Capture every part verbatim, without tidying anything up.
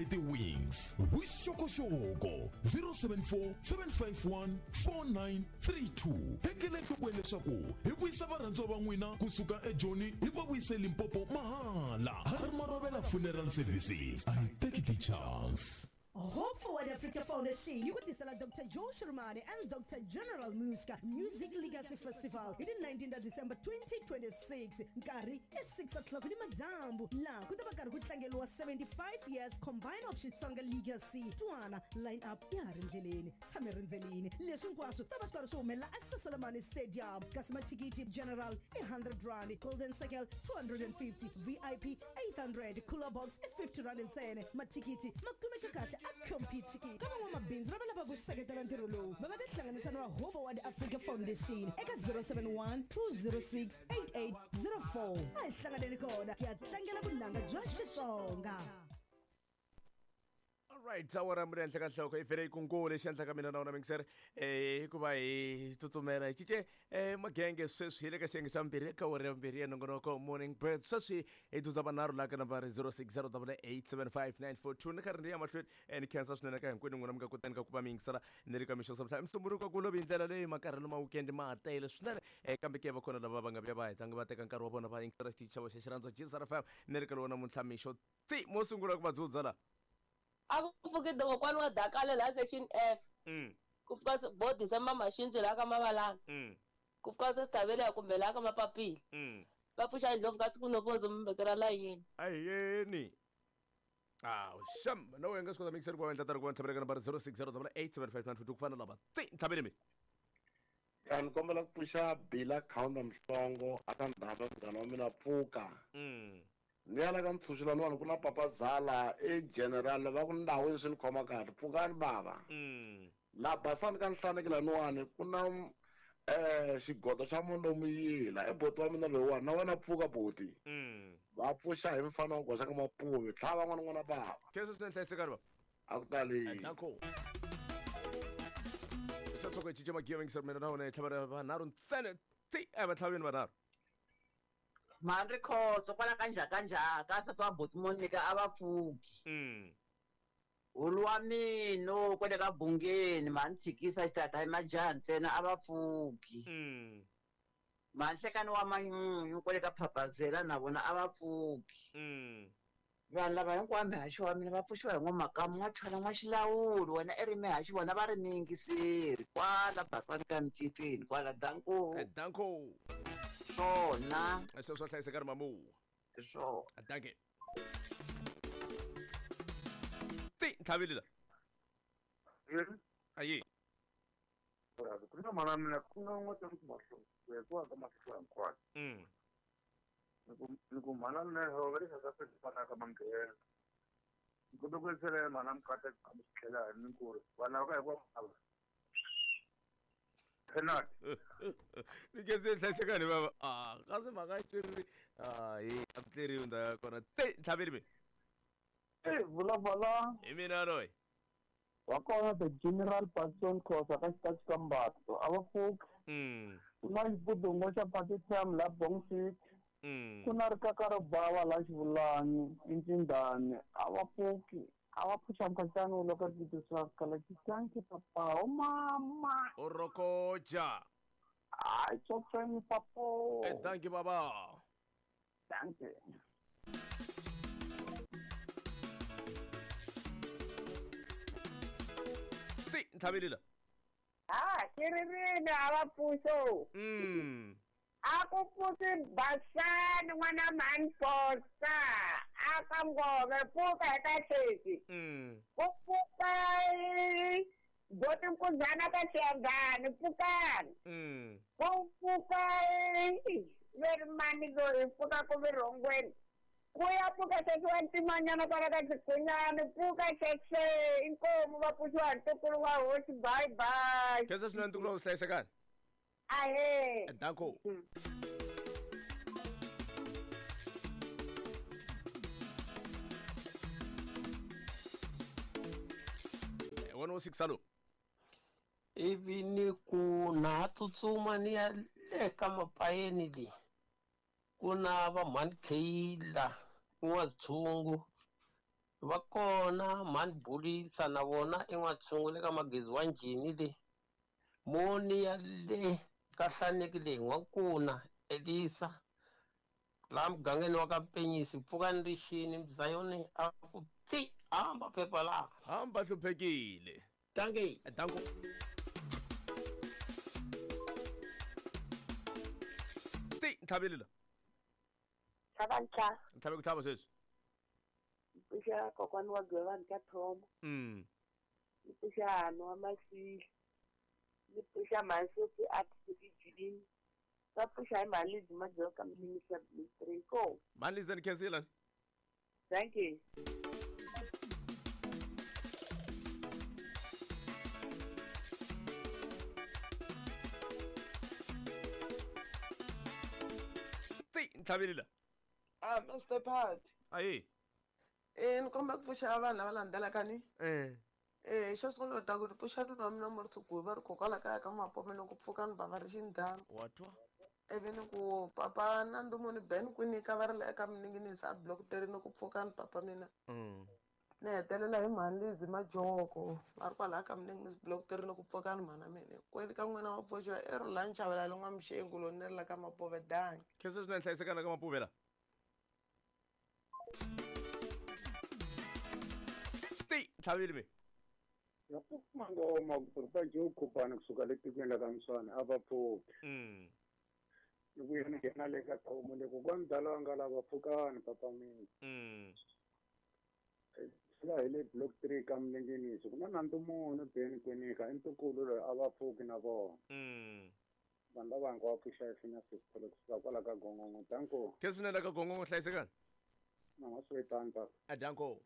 hi ti-wings. Vuxokoxoko zero seven four seven five one four nine three two. Tekela enhlokweni leswaku hi vuyisa varhandziwa va n'wina kusuka eJoni hi va vuyise Limpopo mahala. Har Marovela Funeral Services. I take the chance. Hope Forward Africa Foundation yi ku tisela Doctor Joe Shirmani and Doctor General Muska Music Legacy Festival hi ti nineteen ta December twenty twenty-six. Nkarhi i six o'clock ni madyambu laha ku ta va karhi ku tlangeriwa seventy-five years combined of Xitsonga Legacy. Twana line up ya ha ri ndleleni, tshame rindzelini. Leswi hinkwaswo ta va swi karhi swi humelela eSaselamani Stadium. Kasi mathikithi general i hundred rand, golden circle two hundred and fifty, V I P eight hundred, cooler box i fifty rand ntsena. Mathikithi ma kumeka kahle a compete ka van'wamabindzu lava lavaka ku seketela ntirho lowu va nga tihlanganisa na va Hope Forward Africa Foundation eka zero seven one two zero six eight eight zero four. A hi hlanganeni kona hi ya tlangela vunanga bya Xitsonga. All right, awara muri henhla ka nhloko i vhele yikungule xi endlaka mina na wona mingiseri eh hikuva hi tsutsumela hi cince eh magenge sweswi hi le ka xiyenge xa mbirhi eka awara ya vumbirhi ya nongonoko Morning Bird. Sweswi hi dzudza vanharhu laha ka nambara zero six zero double eight seven five nine four two. Ni karhi ni ya mahlweni eh ni khensa swinene ka hinkwenu n'wina mi nga kotani ka ku va mi yingisela ni ri ka mixo swa msumbuluko ku lovi hi ndlela leyi makarhelo ma weekend ma ha tele swinene eh kambe ke va kona lava va nga vuya va hetanga va teka nkarhi wa vona va yingisela xitichi xa voxa xirhandza G S R F M ni ri ka lona namuntlha mixo ti mo sungula ku va dzudza la. A ku pfuki kokwani wa Dakale laha section F. Mm. Ku pfuka bo December Mashinji laha ka Mavalana. Mm. Ku pfuka Sesithavela kumbe laha ka Mapapila. Mm. Va pfuxa ndlopfu kasi ku nopozo mi vekela layini. Ayeni. Ah, sham, no wena nga swi kota mixer ku va endla tari ku va ntlhavela ka nambara zero six zero double eight seven five nine four two ku fana lava. Ti ntlhaveli mi. Ya ni kombela ku pfuxa Bila Counter Mhlongo aka ndhava munghana wa mina pfuka. Mm. Ni ya la ka ntshunxo laniwani ku na Papa Zala e general va ku ndhawu swi ni khoma kahle pfukani bava. Mm. La basani ka nhlaneki laniwani ku na eh xigodo xa Mondomuyila e boti wa mina loyiwani na wena pfuka boti. Mm. Va pfuxa hi mfana wa goxa ka Mapuve tlhava n'wana n'wana bava. Khensa swinene hlayiseka ri va. A ku tali. Danko. Xa tsoko hi cince magiya mingiseri mina na wena hi tlhavela vanharhu ntsena ti a va tlhaveni vanharhu. Mhani Rikhotso kwala ka njhakanjhaka nsati wa buti Monica a va pfuki. Mm. Hulu wa mina kwale ka Bungeni mhani tshikisa xitata hi majaha ntsena a va pfuki. Mm. Mhani Hlekani wa Manyunyu kwale ka Phapazela na vona a va pfuki. Mm. Vanhu lava hinkwavo mihaxi wa mina va pfuxiwa hi n'wamakamu n'wathwala n'waxilawuli wena i ri mihaxi vona va ri miyingiseri kwala Basani ka Micicini kwala Danko. Danko. Swona. Sweswo swa hlayiseka ri mamu. Swona. Danke. Ti ntlhaveli la. Ayi. Ku na mana mina ku na n'wa ta ku mahlo ku ya ku ka mahlo hinkwayo. Mm. Ni ku ni ku mana mina ho va ri sa sa fana ka manghena. Ni ku ku sele mana mkata ka tlhela ni ku ri vana va ka hi ku Penat. Ni ke se hlayiseka ni baba. Ah, kasi mhaka yi ri ah hi a tleriwi ndhawu ya kona. Ti ntlhaveli mi. Eh vulavula. Hi mina loyi. Wa kona the General Patson Khosa ka xitachi ka Mbato a va pfuki. Mm. Ku na xibudungo xa Pakistan la Bong City. Mm. Ku na rikaka ro bava la Xivulani eNcindani a va pfuki. A va pfuxa mkhaxani loko ri titisiwa kala xitanki papa o mama. O rokoja. Ai tsotsweni papo. Eh dankie baba. Dankie. Si ntlhaveli la. Ah, ke ri rini a va pfuxo. Mm. A ku pfuxi Basani n'wana mhani Posa a ka Ngove pfuka hi ka Xesi. Mm. Ku pfuka boti Nkuzana ka Xiyangani pfukani. Mm. Ku pfuka veri mani loyi pfuka ku virhongweni. Ku ya pfuka Xesi wa ntimanyana kwala ka Xikunyani pfuka Xese inkomu va pfuxiwa hi ntukulu wa hosi bye bye. Khensa swinene ntukulu wa hlayisekani. Ahe. Danko. one oh six alo. Ivi ni ku na tsutsuma ni ya le ka mapayeni le. Ku na va mhani Kheyila n'watshungu Va kona mhani Bulisa na vona en'watshungu le ka Magezi wa Njhini le. Moni ya le ka Hlaneki le N'wankuna Elisa. Laha mugangeni wa ka Mpenyisi pfukani rixini Mzayoni a ku ti hamba phepha laha. Hamba hluphekile. Dankie. Danko. Ti ntlhaveli la. Tlhava ntlha. Ntlhave ku tlhava sweswi. Pfuxa kokwani wa Gwevani ka Thoma. Mm. Ni pfuxa Hano wa Masili. Ni pfuxa Mhansofi a Jilini. Va pfuxa hi Mhalizi Madzoka Minister Ministry ko. Mhalizi ni khensile. Thank you. Ti ntlhaveli la. Ah, Mister Pat. Ayi. Eh, ni komba ku pfuxa vanhu lava landzelaka ni. Eh. Eh, xo sungula u ta ku pfuxa nuna wa mina Muritsiguvi va ri kokwala kaya ka Mapome loko pfuka ni bava ri xindhawu. Wa twa. Ivi ni ku papa na Ndumuni Ben Kwinika va ri le eka Mninginisi a block three ni ku pfuka ni papa mina. Mm. Ni hetelela hi mhani Lizzy Majoko va ri kwalaya ka Mninginisi block three ni ku pfuka ni mhana mina. Kweli ka n'wina wa pfuxiwa i Rhulani Chavalala N'wamuxengu loyi ni ri la ka Mapove danki. Khensa swinene hlayisekana ka Mapove la. Ti ntlhaveli me. Mangoma ku Joe Khupani kusuka le tikweni la ka Mswana a va pfuki. Mm. Ni vuya ni nghena le ka Thomo le kokwani dala nga lava pfukani papa mina. Mm. Sila hi le block three ka Mninginisi ku na Nandumuni Ben Kwinika i ntukulu loyi a va pfuki na vona. Mm. Vanhu lava hinkwavo pfuxa hi Phineas Sithole kusuka kwala ka Gongongo. Danko. Khensa swinene ka Gongongo hlayisekani. Na wa swi tani papa. A danko.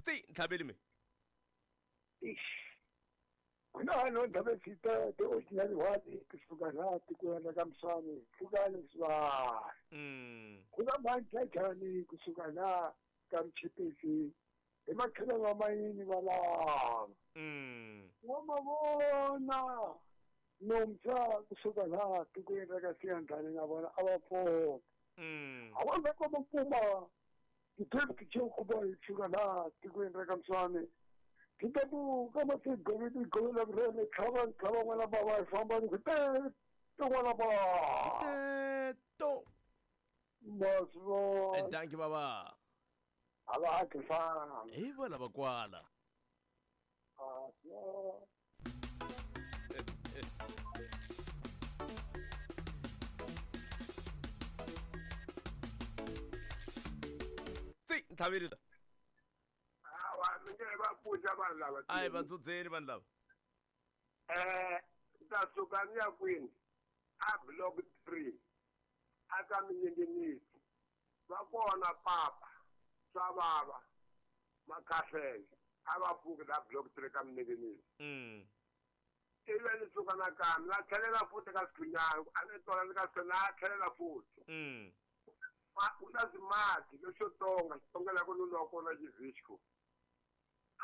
Ti ntlhaveli me. Kuna no ndaba fita te ordinary wadi kusuka la tikweni la ka Mswani pfukani swa. Mm. Kuna manjani kusuka la ka Mchipisi hi matlhelo wa mayini va lava. Mm. Wa mavona nomtsa kusuka la tikweni ra ka Siyandhani na vona a va pfuka. Mm. A va va kuma kuma ti-deputy Joe Khupani kusuka la tikweni ra ka Mswani. Kitabu kama si govidi govila brele tlhava tlhava n'wana baba hi famba ni ku te te n'wana baba. Te to. Masvo. Danki baba. A va ha fana. Hi va lava kwala. Ah, so. Ti ntlhaveli la. Ai Ai va dzudzeni vanhu lava. Eh, ta suka ni ya kwini a block three a ka Mninginisi va kona papa swa vava Makhahlele a va pfuki la block three ka Mninginisi. Mm. Ivi ni suka nakambe na tlhelela futhi ka Sikhunyana a ni tola ni ka Sikhunyana a tlhelela futhi. Mm. Ku na Zimati lexo tonga xitongela ku nuna wa kona Xivisco.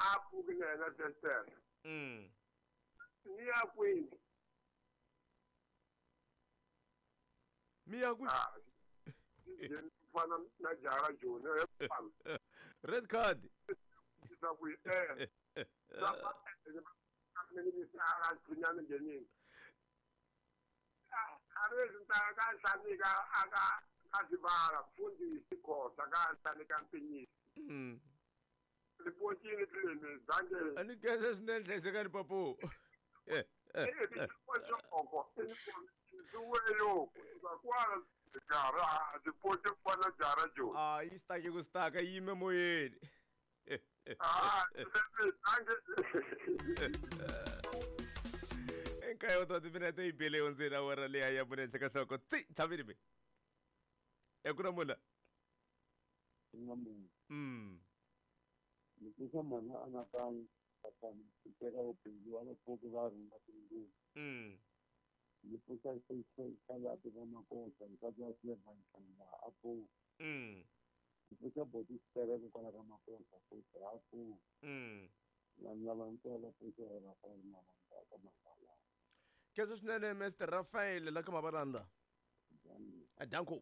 A pfuki na yena Tester. Mm. Ni ya kwini? Mi ya kwini? Ah, fana na Jara Joni. Red card. Sa ku eh. Sa pa A re nta ka hlanika aka ka Sibala mfundisi Khosa ka hlanika Mpinyisi. Mm. Ripotile tlileni zange. A ni khensa swinene hlayisekani papu. Eh. Ah, yi stake ku staka yi yime moyeni. Ah, Nkaye wa timinete yi bile hundzeni awara liya ya mune henhla ka nhloko. Tsi ntlhaveli me. Ya ku na mula. Mm. Ni pfuxa mhana Anakanya Tatana ku teka vubindzu va vapfuki va rhunga tinguvu. Mm. Ni pfuxa Xalapi va Makosa nsati wa Clever Nhlanga a pfuka. Mm. Ni pfuxa Boti Xitereko kwala ka Makosa futhi a pfuka. Mm. Vanhu lava ntsena pfuxa hi Rafael Mavandla ka Mavalanga. Khensa swinene Mister Rafael la ka Mavalanda. Danko.